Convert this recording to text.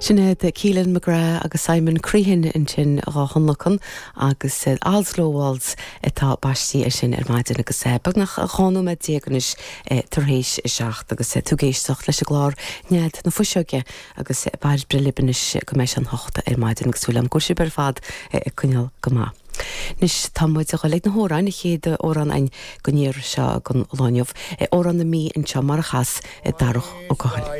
Sin iad Keelan McGrath agus Simon Crehan ansin dhá thionlacan agus All's Low Waltz atá baistí air sin ar maidin agus beagnach 12 nóiméad anois tar éis a 7 agus tú ag éisteacht leis an gclár Nead na Fuiseoige agus beir breith libh anois go mbeidh sé an 8 ar maidin agus súil agam go bhfuil sibh ar fad ag coinneáil go maith. Anois tá muid ag dul ag na hamhráin, an chéad amhrán againn den iarraidh seo den lá inniu, Amhrán na Mí anseo mar a chas Darach Ó Cathail.